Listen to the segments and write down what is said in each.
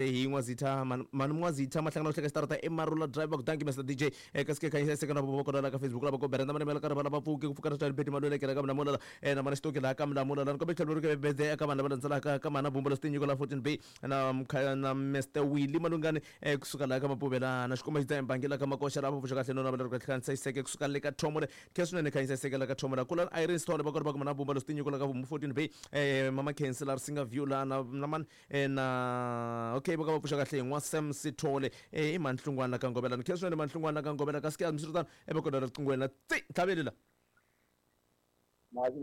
Hi N'wazitha mani N'wazitha Mahlangana u hleka xitarata i Marula Drive va ku thank you Mr DJ kasi ke khanyisa seka na vovo kona la ka Facebook lava ko berenda mani mela ka rivala va pfuki ku pfuka na swi beti malwele kela ka mlamula na mana xitoki laha ka mlamula la ni kombe tlhelo ri ke eka vanhu lava landzelaka ka mana bumba leswi tinyiko la 14B na na Mr Willie Malungani kusuka laha ka Mapuvela na xikomba xi dza la ka Makoxa lava pfuxa kahle no navela ri kahle khanisa xiseke kusuka le ka Thomo le khe swinene khanyisa xiseke la ka Thomo la kula Irene Sithole va kona va ku mana bumba leswi tinyiko la ka 14B Mama Khensi la Risinga View la na na mani na okay vo ka va pfuxa kahle hi n'wa Sam Sithole i Manhlungwana la ka Ngovela ni khensa swinene Manhlungwana la ka Ngovela kasi ke hambiswiritano e va kona riqingweni la tsi ntlhaveli la Mhasi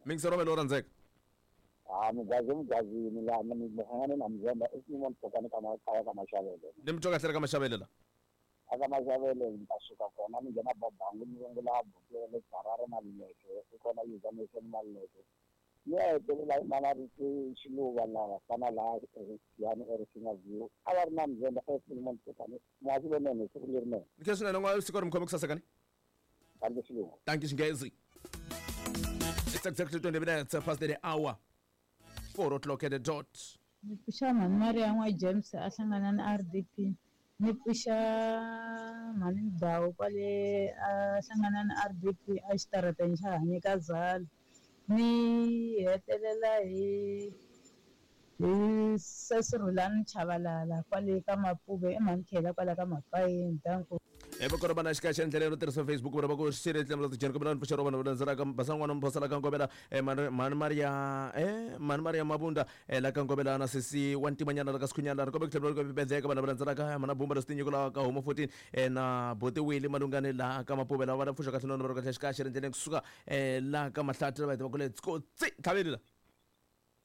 mingisero wa lo rhandzeka Ha mugazi mugazini la mi hlangane na Mzemba i Simon Phokane ka kaya ka Mashavele. Ni mi twa kahle ka Mashavele la. Aka Mashavele ni ta suka kona ni nghena Babangu ni rungula buti le Harare Maluleke i kona User Maluleke. Ni ya hetelela hi mana ri Xiluva laha fana laha yani eRisinga View a va ri na Mzemba eSimon Phokane muhasi lonene siku lerinene. Ni khensa swinene n'wa siku ri mi khome ku saseka ni. Thank you Xiluva. Thank you Xinghezi. It's exactly 20 minutes past the hour. 4 o'clock at the dot. Ni pfuxa mhani Maria n'wa James a hlangana na RDP. Ni pfuxa mhani Mdawu kwale a hlangana na RDP a xitarateni xa Hanyeka Zala. Ni hetelela hi hi sesi Rhulani Chavalala kwale ka Mapuve i mhani Khela kwala ka Mapayeni. Danko. E va kona vana xikaya xa ndlela yo tirhisa Facebook vona va ku xile tlemela tijeni kombela ni pfuxela vanhu va landzelaka basa n'wana mphosela ka Ngovela mhani Maria mhani Maria Mabunda la ka Ngovela na sesi wa ntimanyana la ka Sikhunyana ri kombe ku tlhela ri bedleka vanhu va landzelaka mhana Bumba leswi tinyiko la ka Homo 14 na Boti Willie Malungani la ka Mapuvela va pfuxa kahle nona va ri kahle xikaya xa ndlela kusuka la ka Mahlathi va va ku let's go tsi tlhaveli la.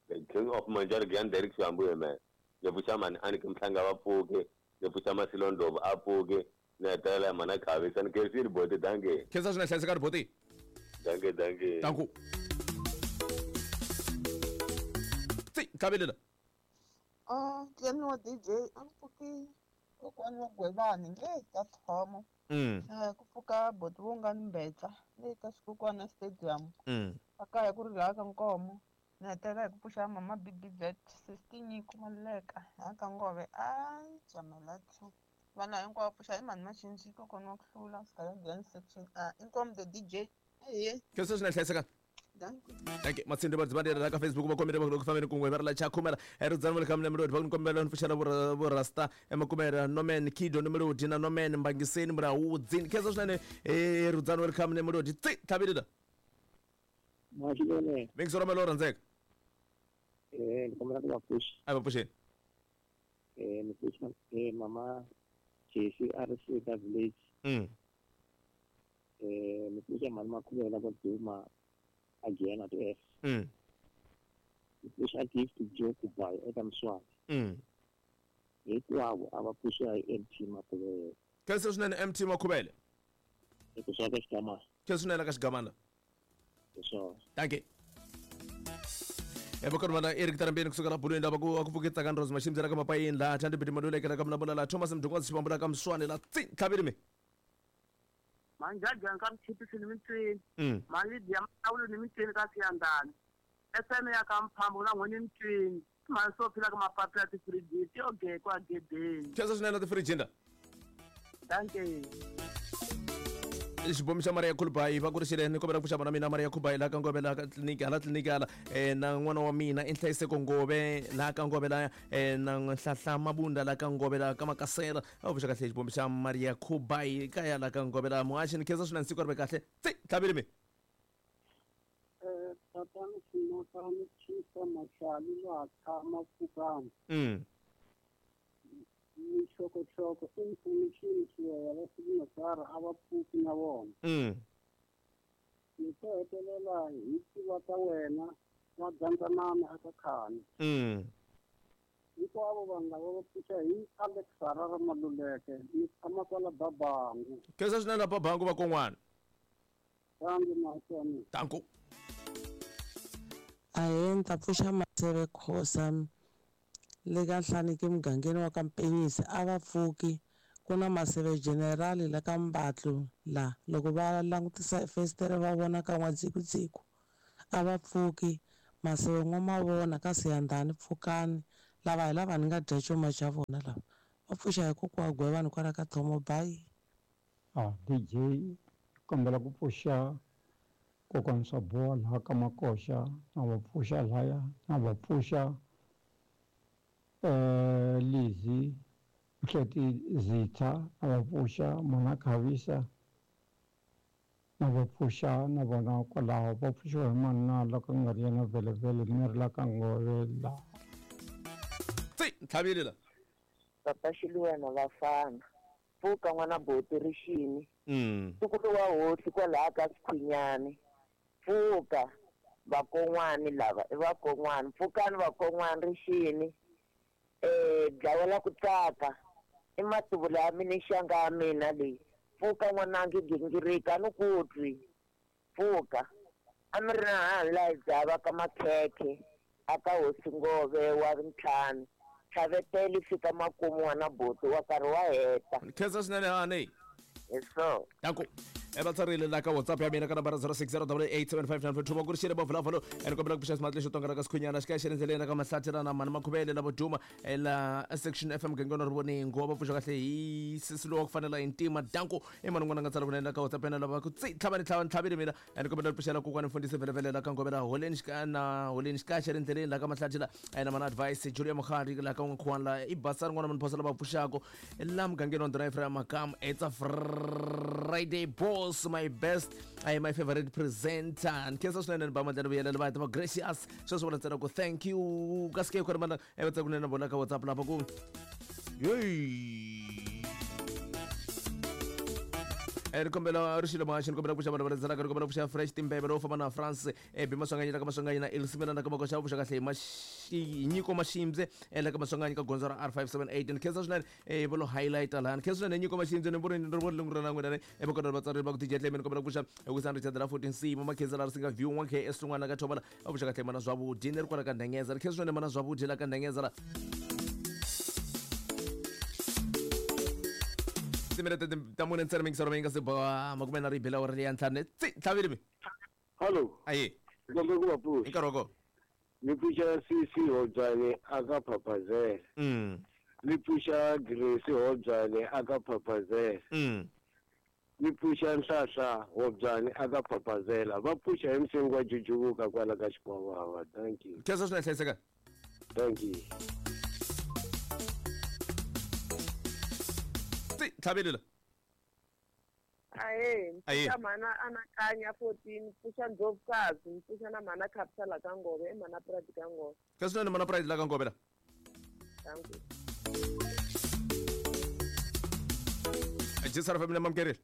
The King of Manjari Grand Derek Xihambuye man. Ni pfuxa mhani Aniki Mhlanga va pfuke, ni pfuxa Masilo Ndlovu a pfuke, ni hetelela hi mhana Khavisa ni khensile boti danke. Khensa swinene hlayisekani boti. Danke danke. Danku. Tsi tlhaveli la. Ah, Tleni wa DJ a ku pfuki kokwani wa Gwevani le ka Thomo. Ku pfuka boti wo nga ni mbetsa le ka Xikukwana Stadium. Akaya ku ri laha ka Nkomo. Ni hetelela hi ku pfuxa mama BBZ Sister Nyiko Maluleka laha ka Ngove a Jamela 2. Vana hinkwavo pfuxa hi mhani Machinji kokwana wa ku hlula Scalangian section A. Inkomu the DJ. Ehe. Khensa swinene hlayisekani. Danko. Thank you. Matsindi va dzimandela la ka Facebook va kombela va ku fambeni kun'we va ri la chakhumela ridzani va le ka Melody va ku kombela ni pfuxela vo Rasta emakumela Nomen Kido no Melody na Nomen Mbangiseni Mrawudzi. Khensa swinene ridzani va le ka Melody tsi tlhaveli la. Maxinene. Mingisero wa lo rhandzeka. Ni kombela ku va pfuxa. A va pfuxeni. Ni pfuxa mama Jesse a ri Sika Village. Ni pfuxa mhani Makhuvela ko duma again at F. Ni pfuxa Gift Joe Kubayi eka Mswati. Hinkwavo a va pfuxa hi MT Makhuvele. Khensa swinene MT Makhuvele. Hi ku swa ka Xigamana. Khensa swinene ka Xigamana. Sure. Thank you. Eva kona Eric Tarambeni kusuka la bulweni lava ku pfuke Tsakani Rose Mashimbyela ka Mapayeni la Thandi Bidi Maluleke la ka Mlamula la Thomas Mdungwazi Xivambula ka Mswane la tsi tlhaveli mi. Manjajani ka Mchipisi ni Mitswini. Mali ya Mawulu ni Mitswini ka Siyandani. FM ya ka Mphambo na n'wini Mitswini. Mali so phila ka mapapila ya tifiriji ti oge kwa gedeni. Khensa swinene tifirijini la. Thank you. Xibomi xa Maria Khulubayi va ku ri xile ni kombela ku pfuxa vana mina Maria Khulubayi laha ka Ngove laha ka tliliniki hala tliliniki hala na n'wana wa mina i Nhlayiseko Ngove laha ka Ngove laha na Nhlahla Mabunda laha ka Ngove laha ka Makasela a pfuxa kahle xibomi xa Maria Khulubayi kaya laha ka Ngove laha muhaxi ni khensa swinene siku ri ve kahle tsi tlhaveli mi. Tatana Xinotani Chisa Mashali laha tshama Pfukani. Mixokoxoko information Xiweya va signatara a va pfuki na vona. Ni to hetelela hi tiva ta wena va gandzanana aka khani. Hinkwavo vanhu lava va pfuxa hi Alex Harare Maluleke ni tshama kwala Babangu. Khensa swinene la Babangu va kon'wana. Thank you, Mahlweni. Thank you. Ahee, ni ta pfuxa Maseve Khosa le ka Nhlaniki mugangeni wa ka Mpenyisi a va pfuki ku na Maseve General la ka Mbatlu la loko va langutisa festere va vona ka N'wadzikudziku a va pfuki Maseve N'wamavona ka Siyandhani pfukani Lava hi lava ni nga dya cuma xa vona lava. Va pfuxa hi kokwa Gwevani kwala ka Thomo bayi. DJ kombela ku pfuxa kokwani Swabowa laha ka Makoxa na va pfuxa laya na va pfuxa Lizzy Mhleti Zitha na va pfuxa Mona Khavisa na va pfuxa na vona kwalaho va pfuxiwa hi manana loko nga ri yena vhelevhele ni ri la ka ngove la tsi ntlhavile la papa Xiluwana vafana pfuka n'wana boti rixini ntukulu wa hosi kwalaha ka Sikhwinyani pfuka vakon'wani lava i vakon'wani pfukani vakon'wani rixini dlawela ku tsaka i matuvula ya mina xanga ya mina leyi pfuka n'wanangi gingirika a ni ku twi pfuka a mi ri na hani laha hi dzava ka makhekhe a ka hosi Ngove wa ntlhanu tlhavetele fika makumu n'wana buti wa karhi wa heta khensa swinene hani hi so danko va tsarile la ka WhatsApp ya mina ka nambara 0608875942 va ku ri xile vavulavalo ni kombela ku pfuxa ximatli xo tonga ka Sikhunyana xi ka xi ri endleleni ka Mahlathi na mani Makhuvele lavo duma la section FM gengeno ri voningo va pfuxa kahle hi sisi lowa ku fanela hi ntima danko i mani n'wana nga tsala kunene la ka WhatsApp yena lava ku tsi tlhava ni tlhava ni tlhavile mina ni kombela ku pfuxela kokwani mfundhisi velevele la ka Ngovela holeni xika na holeni xika xi ri endleleni la ka Mahlathi la na mana advice Julia Mukhari la ka N'wankhuwani la i basani n'wana munhu phosa lava pfuxako la mugangeni wa ndhuna Ephraim Makamu. It's a Friday boss, my best, my favorite presenter. Nkhensa swinene ni ba mandleni vuyelelo va va gracious sweswo vula ntsena ku thank you kasi ke ku ri mana va tsaka kunene vona ka WhatsApp lapha ku hey ri kombela ri xilo muhaxi ni kombela ku xava vanhu va ri kombela ku xava fresh timbeve lowo famba na France bi Maswanganyi la ka Maswanganyi na Ilsimela na ka Makoxa vuxa kahle hi nyiko Mashimbye la ka Maswanganyi ka gondzo ra R578 ni khensa swinene va lo highlight laha ni khensa swinene nyiko Mashimbye ni voni ri voni lungu ra na n'wina ne va kona vatsari va ku DJ Tlemi ni kombela ku pfuxa Wisani Richard la 14 C mama khensa la ri singa view 1 KS rin'wana ka Thobola va vuxa kahle mana zwavudi ni ri kwala ka Ndhengeza ri khensa swinene mana zwavudi la ka Ndhengeza la timinete ta mune ntsena mingiselo mi nga se ba makume na ribela wa ri ya ntlhanu tsi ntlhavile mi hallo aye kombe ku va pfuxa hi nkarhi wa kona ni pfuxa Sisi Hobyane aka Phaphazela ni pfuxa Grace Hobyane aka Phaphazela ni pfuxa Nhlahla Hobyane aka Phaphazela va pfuxa hi msengo wa Jujuvuka kwala ka Xikwavava. Thank you. Khensa swinene hlayiseka. Thank you. Tsi ntlhavile la Ahe, mpfuxa mhana anakanya 14, mpfuxa Ndlovukazi, mpfuxa na mhana Capital la ka Ngove, i mhana Pride ka Ngove. Khensa swinene mhana Pride la ka Ngove la. Thank you. Jisara family mamkerile.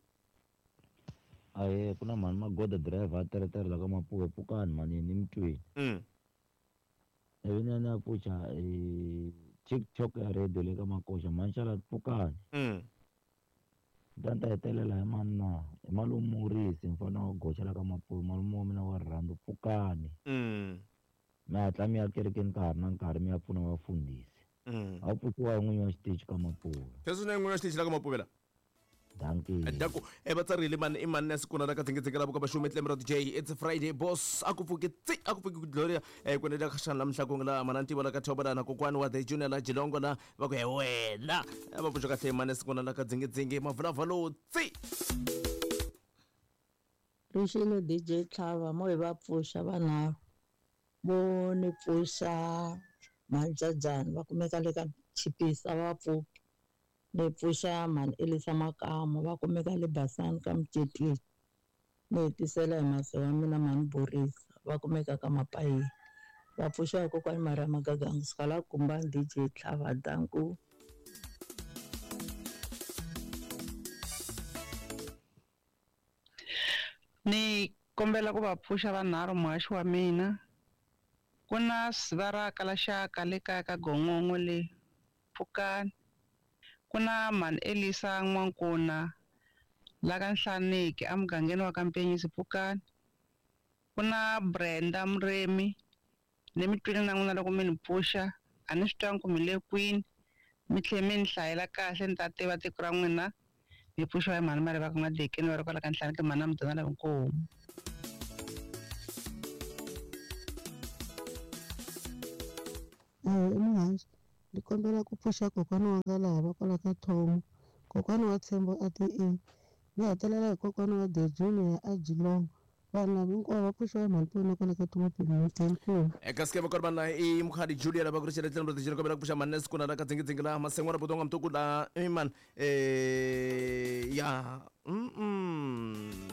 Ahe, ku na mhani Magoda driver a teretere la ka Mapuwe pfukani mhani ni mutweni. Ivi ni ya pfuxa TikTok ya radio le ka Makoxa mhani xala pfukani. Ta hetelela hi mani na hi malume Murisi mfana wa goxa la ka Mapuwe malume wa mina wa rirhandzu pfukani. Mi hatla mi ya kerekeni ka ha ri na nkarhi mi ya pfuna vafundhisi. A pfuxiwa hi n'winyi wa xitichi ka Mapuwe. Sweswi na n'winyi wa xitichi la ka Mapuwe la. Dankie. Danko va tsarile mani i mani na sikuna la ka dzingedzinge la vuka vaxumi Tlemi ra DJ it's Friday boss a ku pfuki tsi a ku pfuki ku Gloria ku endla xana la Mhlakong la mana ntivo la ka Thobola na kokwani wa the junior la Jilongo la va ku he wena va pfuxa kahle mani sikuna la ka dzingedzinge mavulavalo tsi Rixile DJ Tlhava mo hi va pfuxa vanharhu vo ni pfuxa Mhandzadzana va kumeka le ka Chipisa va pfuki ni pfuxa mhani Elisa Makamu va kumeka le Basani ka Mcetweni ni hetisela hi masi wa mina mhani Borisa va kumeka ka Mapayeni va pfuxa kokwani Maria Magaga kusuka la Kumbani DJ Tlhava danku. Ni kombela ku va pfuxa vanharhu muhaxi wa mina ku na sivaraka la xaka le kaya ka Gongongo le pfukani ku na mhani Elisa N'wankuna la ka Nhlaneki emugangeni wa ka Mpenyisi pfukani ku na Brenda Muremi ni mi twile na n'wina loko mi ni pfuxa a ni swi twangi ku mi le kwini mi tlhe mi ni hlayela kahle ni ta tiva tiko ra n'wina mi pfuxiwa hi mhani Mariva ka N'wadekeni va ri kwala ka Nhlaneki mhani Mudana la Nkomu. Muhaxi Ni kombela ku pfuxa kokwana wa nga laha va kwala ka Thomo, kokwana wa Tshembo a ti E. Ni hetelela hi kokwana wa The Junior a Geelong. Vanhu lava hinkwavo va pfuxiwa hi mhani Poni kwala ka Thomo Pimiti. Inkomu. Eka sikeva ku ri vanhu i mukhadi Julia lava ku ri xele tlhelo ri kombela ku pfuxa manesi kuna la ka dzingidzingi la masengwa ra butonga mtuku la iman ya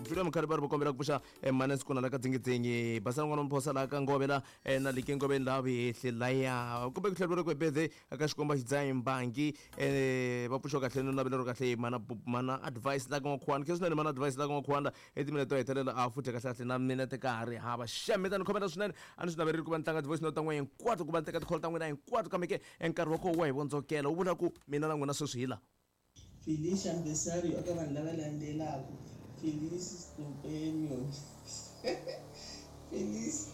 Julia mukhadi va ri va kombela ku pfuxa manesi kuna la ka dzingidzingi basana n'wana mphosa la ka ngove la na like ngoveni la vihehli laya kumbe ku tlhela ri ku birthday ka xikomba xidzayi mbangi va pfuxiwa kahle no navelero kahle mana mana advice la ka n'wakhuwana khe swinene mana advice la ka n'wakhuwana I timinete to hetelela a futhi kahle kahle na minete ka ha ri hava. Xem mi ta ni khomela swinene a ni swi naverile ku va ni tlanga ti-voice note ta n'wina hinkwato ku va ni teka ti-call ta n'wina hinkwato kambe ke e nkarhi wa koho wa hi vondzokela wu vula ku mina na n'wina sweswi hi la. Felicia Mbesario eka vanhu lava landzelaka, Felice Companion, Felice.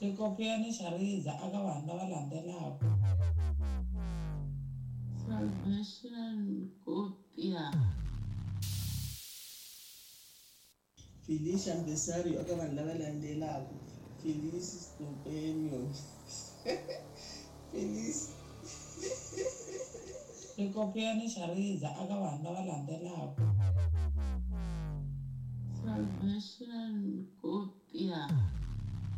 Xikopiyani xa riza aka vanhu lava landzelaka. Salvation Kopia. Felicia Mbesario eka vanhu lava landzelaka, Felice Companion, Felice. Xikopiyani xa riza aka vanhu lava.